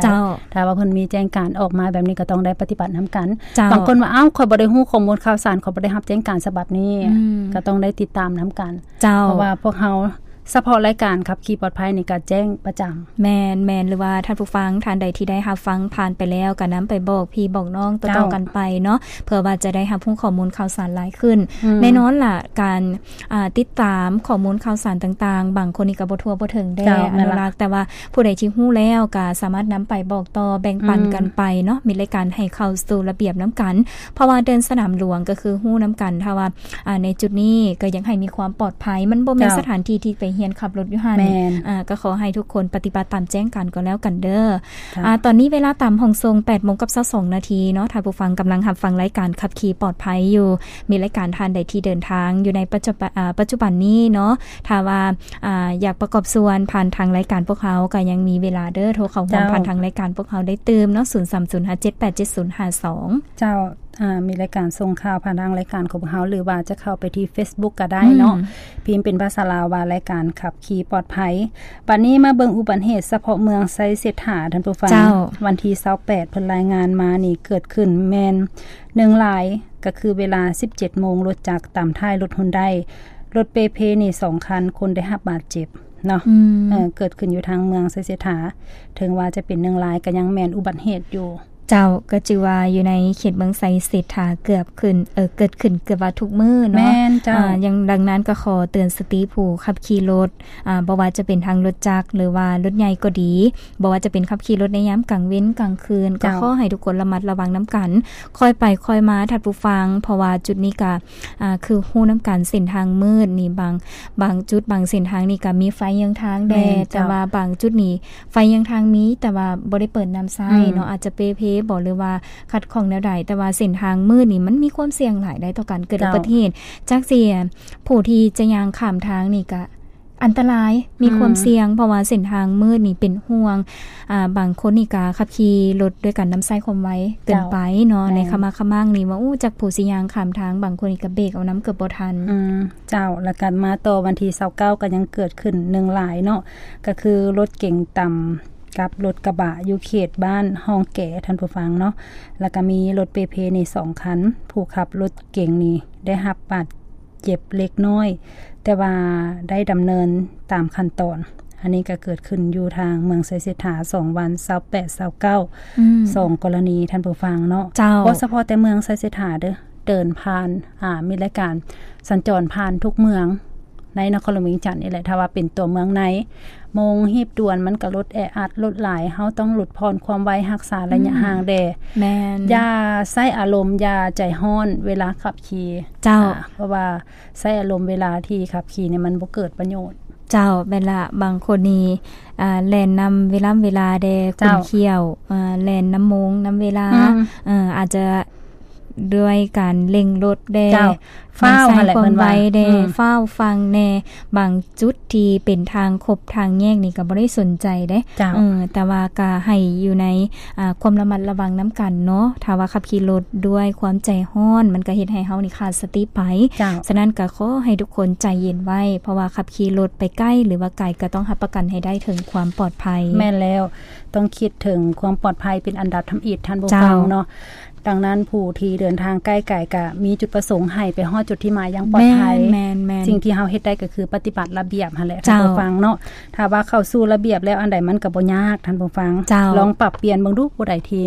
ເຈົ້າ ຖ້າວ່າເພິ່ນມີແຈ້ງການອອກມາແບບນີ້ ກໍຕ້ອງໄດ້ປະຕິບັດນຳກັນ. ເຈົ້າ ບາງຄົນວ່າ ອ້າວ ຂ້ອຍບໍ່ໄດ້ຮູ້ຂໍ້ມູນຂ່າວສານ ຂ້ອຍບໍ່ໄດ້ຮັບແຈ້ງການສະບັບນີ້ ອືມ ກໍຕ້ອງໄດ້ຕິດຕາມນຳກັນ. ເຈົ້າ ເພາະວ່າພວກເຮົາ ສະເພາະລາຍການຂັບຂີ່ປອດໄພນີ້ກໍແຈ້ງປະຈຳ. ແມ່ນໆ ຫຼືວ່າທ່ານຜູ້ຟັງທ່ານໃດທີ່ໄດ້ຮັບຟັງຜ່ານໄປແລ້ວ ກໍນຳໄປບອກພີ່ບອກນ້ອງ ເຈົ້າ ຕໍ່ໆກັນໄປເນາະ ເພື່ອວ່າຈະໄດ້ຮັບຮູ້ຂໍ້ມູນຂ່າວສານຫຼາຍຂຶ້ນ. ອືມ ແນ່ນອນລະ ການ ອ່າ ຕິດຕາມຂໍ້ມູນຂ່າວສານຕ່າງໆ ບາງຄົນນີ້ກໍບໍ່ທົ່ວບໍ່ເຖິງແດ່ ເຈົ້າ ອະນຸລັກ ແມ່ນລະ ແຕ່ວ່າຜູ້ໃດທີ່ຮູ້ແລ້ວກໍສາມາດນຳໄປບອກຕໍ່ແບ່ງປັນ ອືມ ກັນໄປເນາະ ມີລາຍການໃຫ້ເຂົ້າສູ່ລະບຽບນຳກັນ ເພາະວ່າເດີ່ນສະໜາມຫຼວງກໍຄືຮູ້ນຳກັນ ຖ້າວ່າ ອ່າ ໃນຈຸດນີ້ກໍຢາກໃຫ້ມີຄວາມປອດໄພ ມັນບໍ່ແມ່ນ ເຈົ້າ ສະຖານທີ່ທີ່ໄປຮຽນຂັບລົດຢູ່ຫັ້ນ ແມ່ນ ອ່າ ກໍຂໍໃຫ້ທຸກຄົນປະຕິບັດຕາມແຈ້ງການກໍແລ້ວກັນເດີ. ເຈົ້າ ອ່າ ຕອນນີ້ເວລາຕາມຫ້ອງສົ່ງ ແປດໂມງກັບຊາວສອງນາທີເນາະ ທ່ານຜູ້ຟັງກຳລັງຮັບຟັງລາຍການຂັບຂີ່ປອດໄພຢູ່ ມີລາຍການທ່ານໃດທີ່ເດີນທາງຢູ່ໃນປັດຈຸບັນ ອ່າ ປັດຈຸບັນນີ້ເນາະ ຖ້າວ່າ ອ່າ ຢາກປະກອບສ່ວນຜ່ານທາງລາຍການພວກເຮົາ ກໍຍັງມີເວລາເດີ ໂທເຂົ້າຮ່ວມ ເຈົ້າ ຜ່ານທາງລາຍການພວກເຮົາໄດ້ຕື່ມເນາະ ສູນສາມສູນຫ້າເຈັດແປດເຈັດສູນຫ້າສອງ ເຈົ້າ. ອ່າ ມີລາຍການສົ່ງຂ່າວຜ່ານທາງລາຍການຂອງພວກເຮົາ ຫຼືວ່າຈະເຂົ້າໄປທີ່ເຟສບຸກກໍໄດ້ເນາະ ອືມ ພິມເປັນພາສາລາວວ່າ ລາຍການຂັບຂີ່ປອດໄພ. ບັດນີ້ມາເບິ່ງອຸບັດເຫດສະເພາະເມືອງໄຊເສດຖາ ທ່ານຜູ້ຟັງ ເຈົ້າ ວັນທີຊາວແປດ ເພິ່ນລາຍງານມານີ້ ເກີດຂຶ້ນແມ່ນໜຶ່ງລາຍ ກໍຄືເວລາສິບເຈັດໂມງ ລົດຈັກຕຳທ້າຍລົດຮຸນໄດ ລົດເປເພນີ້ສອງຄັນ ຄົນໄດ້ຮັບບາດເຈັບເນາະ ອືມ ເອີ ເກີດຂຶ້ນຢູ່ທາງເມືອງໄຊເສດຖາ ເຖິງວ່າຈະເປັນໜຶ່ງລາຍ ກໍຍັງແມ່ນອຸບັດເຫດຢູ່. ເຈົ້າ ກໍຈື່ວ່າຢູ່ໃນເຂດເມືອງໄຊເສດຖາເກືອບຂຶ້ນ ເອີ ເກີດຂຶ້ນເກືອບວ່າທຸກມື້ເນາະ ແມ່ນເຈົ້າ ອ່າ ຢ່າງດັ່ງນັ້ນກໍຂໍເຕືອນສະຕິຜູ້ຂັບຂີ່ລົດ ອ່າ ບໍ່ວ່າຈະເປັນທັງລົດຈັກ ຫຼືວ່າລົດໃຫຍ່ກໍດີ ບໍ່ວ່າຈະເປັນຂັບຂີ່ລົດໃນຍາມກາງເວັນກາງຄືນ ກໍ ເຈົ້າ ຂໍໃຫ້ທຸກຄົນລະມັດລະວັງນຳກັນ ຄ່ອຍໄປຄ່ອຍມາ ທ່ານຜູ້ຟັງ ເພາະວ່າຈຸດນີ້ກໍ ອ່າ ຄືຮູ້ນຳກັນ ເສັ້ນທາງມືດນີ້ ບາງ ບາງຈຸດບາງເສັ້ນທາງນີ້ກໍມີໄຟເຍືອງທາງແດ່ ແມ່ນເຈົ້າ ແຕ່ວ່າບາງຈຸດນີ້ ໄຟເຍືອງທາງມີ ແຕ່ວ່າບໍ່ໄດ້ເປີດນ້ຳໃຊ້ ອືມ ເນາະ ອາດຈະເປ່ເພບໍ ຫຼືວ່າຂັດຂ້ອງແນວໃດ ແຕ່ວ່າເສັ້ນທາງມືດນີ້ມັນມີຄວາມສ່ຽງຫຼາຍໄດ໋ຕໍ່ການເກີດອຸບັດຕິເຫດ ເຈົ້າ ຈັກຊິ ຜູ້ທີ່ຈະຍ່າງຂ້າມທາງນີ້ກະອັນຕະລາຍ ມີຄວາມ ອືມ ສ່ຽງ ເພາະວ່າເສັ້ນທາງມືດນີ້ເປັນຫ່ວງ ອ່າ ບາງຄົນນີ້ກະຂັບຂີ່ລົດດ້ວຍການນຳໃຊ້ຄວາມໄວເກີນໄປເນາະ ເຈົ້າ ໃນຂະໝາກຂະມັງນີ້ວ່າ ໂອ້ ຈັກຜູ້ຊິຍ່າງຂ້າມທາງ ບາງຄົນນີ້ກະເບກເອົານຳເກືອບບໍ່ທັນ ອືມ ເຈົ້າ ແລ້ວກໍມາຕໍ່ວັນທີຊາວເກົ້າ ກໍຍັງເກີດຂຶ້ນໜຶ່ງລາຍເນາະ ກໍຄືລົດເກັງຕຳກັບລົດກະບະຢູ່ເຂດບ້ານຮ່ອງແກ ທ່ານຜູ້ຟັງເນາະ ແລ້ວກໍມີລົດເປເພນີ້ສອງຄັນ ຜູ້ຂັບລົດເກັງນີ້ໄດ້ຮັບບາດເຈັບເລັກນ້ອຍ ແຕ່ວ່າໄດ້ດຳເນີນຕາມຂັ້ນຕອນ. ອັນນີ້ກໍເກີດຂຶ້ນຢູ່ທາງເມືອງໄຊເສດຖາ ສອງວັນ ຊາວແປດ ຊາວເກົ້າ ອືມ ສອງກໍລະນີ ທ່ານຜູ້ຟັງເນາະ ເຈົ້າ ບໍ່ສະເພາະແຕ່ເມືອງໄຊເສດຖາເດີ້ ເດີນຜ່ານ ອ່າ ມີລາຍການສັນຈອນຜ່ານທຸກເມືອງໃນນະຄອນຫຼວງວຽງຈັນນີ້ແຫຼະ ຖ້າວ່າເປັນຕົວເມືອງໃນ ໂມງຮີບດ່ວນມັນກໍລົດແອອັດລົດຫຼາຍ ເຮົາຕ້ອງຫຼຸດຜ່ອນຄວາມໄວ ຮັກສາໄລຍະ ອືມ ຫ່າງແດ່ ແມ່ນ ຢ່າໃຊ້ອາລົມ ຢ່າໃຈຮ້ອນເວລາຂັບຂີ່ ເຈົ້າ ອ່າ ເພາະວ່າໃຊ້ອາລົມເວລາທີ່ຂັບຂີ່ນີ້ມັນບໍ່ເກີດປະໂຫຍດ ເຈົ້າ ແມ່ນລະ ບາງຄົນນີ້ ອ່າ ແລ່ນນຳເວລາເວລາແດ່ ເຈົ້າ ຂຸ້ນຂ້ຽວ ອ່າ ແລ່ນນຳໂມງນຳເວລາ ອືມ ເອີ ອາດຈະ ດ້ວຍການເລັ່ງລົດແດ່ ເຈົ້າ ຟ້າວຫັ້ນແຫຼະ ເພິ່ນວ່າ ໃຊ້ຄວາມໄວແດ່ ອືມ ຟ້າວຟັ່ງແດ່ ບາງຈຸດທີ່ເປັນທາງຄົບທາງແຍກນີ້ກໍບໍ່ໄດ້ສົນໃຈເດ້ ເຈົ້າ ເອີ ແຕ່ວ່າກໍໃຫ້ຢູ່ໃນ ອ່າ ຄວາມລະມັດລະວັງນຳກັນເນາະ ຖ້າວ່າຂັບຂີ່ລົດດ້ວຍຄວາມໃຈຮ້ອນ ມັນກໍເຮັດໃຫ້ເຮົານີ້ຂາດສະຕິໄປ ເຈົ້າ ສະນັ້ນກໍຂໍໃຫ້ທຸກຄົນໃຈເຢັນໄວ້ ເພາະວ່າຂັບຂີ່ລົດໄປໃກ້ ຫຼືວ່າໄກ ກໍຕ້ອງຮັບປະກັນໃຫ້ໄດ້ເຖິງຄວາມປອດໄພ ແມ່ນແລ້ວ ຕ້ອງຄິດເຖິງຄວາມປອດໄພເປັນອັນດັບທຳອິດ ທ່ານຜູ້ ເຈົ້າ ຟັງເນາະ ດັ່ງນັ້ນ ຜູ້ທີ່ເດີນທາງໃກ້ໄກກະມີຈຸດປະສົງໃຫ້ໄປຮອດຈຸດທີ່ໝາຍຢ່າງປອດໄພ ແມ່ນໆໆ ສິ່ງທີ່ເຮົາເຮັດໄດ້ກໍຄືປະຕິບັດລະບຽບຫັ້ນແຫຼະ ເຈົ້າ ທ່ານຜູ້ຟັງເນາະ ຖ້າວ່າເຂົ້າສູ່ລະບຽບແລ້ວ ອັນໃດມັນກໍບໍ່ຍາກ ທ່ານຜູ້ຟັງ ເຈົ້າ ລອງປັບປ່ຽນເບິ່ງດູ ຜູ້ໃດທີ່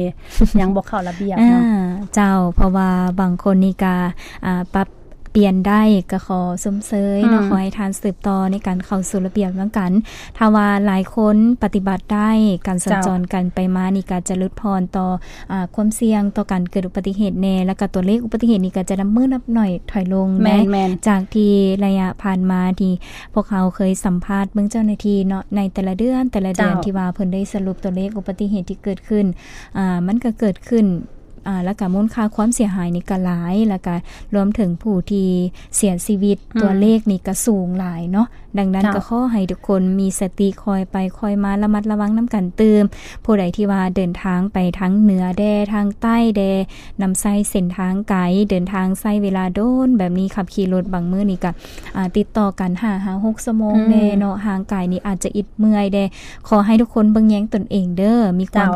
ຍັງບໍ່ເຂົ້າລະບຽບເນາະ ອ່າ ເຈົ້າ ເພາະວ່າບາງຄົນນີ້ກະ ອ່າ ປັບປ່ຽນໄດ້ ກໍຂໍຊົມເຊີຍເນາະ ອືມ ຂໍໃຫ້ທ່ານສືບຕໍ່ໃນການເຂົ້າສູ່ລະບຽບນຳກັນ ຖ້າວ່າຫຼາຍຄົນປະຕິບັດໄດ້ ການສັນຈອນ ເຈົ້າ ກັນໄປມານີ້ກໍຈະຫຼຸດຜ່ອນຕໍ່ ອ່າ ຄວາມສ່ຽງຕໍ່ການເກີດອຸບັດຕິເຫດແດ່ ແລ້ວກໍຕົວເລກອຸບັດຕິເຫດນີ້ກໍຈະນັບມື້ນັບໜ້ອຍຖອຍລົງ ແມ່ນໆ ຈາກທີ່ໄລຍະຜ່ານມາທີ່ພວກເຮົາເຄີຍສຳພາດເບິ່ງເຈົ້າໜ້າທີ່ເນາະ ໃນແຕ່ລະເດືອນ ແຕ່ລະເດືອນ ເຈົ້າ ທີ່ວ່າເພິ່ນໄດ້ສະຫຼຸບຕົວເລກອຸບັດຕິເຫດທີ່ເກີດຂຶ້ນ ອ່າ ມັນກໍເກີດຂຶ້ນ ອ່າ ແລ້ວກະມູນຄ່າຄວາມເສຍຫາຍນີ້ກະຫຼາຍ ແລ້ວກະລວມເຖິງຜູ້ທີ່ເສຍຊີວິດ ອືມ ຕົວເລກນີ້ກະສູງຫຼາຍເນາະ ດັ່ງນັ້ນ ເຈົ້າ ກໍຂໍໃຫ້ທຸກຄົນມີສະຕິ ຄ່ອຍໄປຄ່ອຍມາ ລະມັດລະວັງນຳກັນຕື່ມ ຜູ້ໃດທີ່ວ່າເດີນທາງໄປທາງເໜືອແດ່ ທາງໃຕ້ແດ່ ນຳໃຊ້ເສັ້ນທາງໄກ ເດີນທາງໃຊ້ເວລາດົນແບບນີ້ ຂັບຂີ່ລົດບາງມື້ນີ້ກະ ອ່າ ຕິດຕໍ່ກັນຫ້າຫາຫົກຊົ່ວໂມງ ອືມ ແດ່ເນາະ ຮ່າງກາຍນີ້ອາດຈະອິດເມື່ອຍແດ່ ຂໍໃຫ້ທຸກຄົນເບິ່ງແຍງຕົນເອງເດີ້ ມີຄວາມ ເຈົ້າ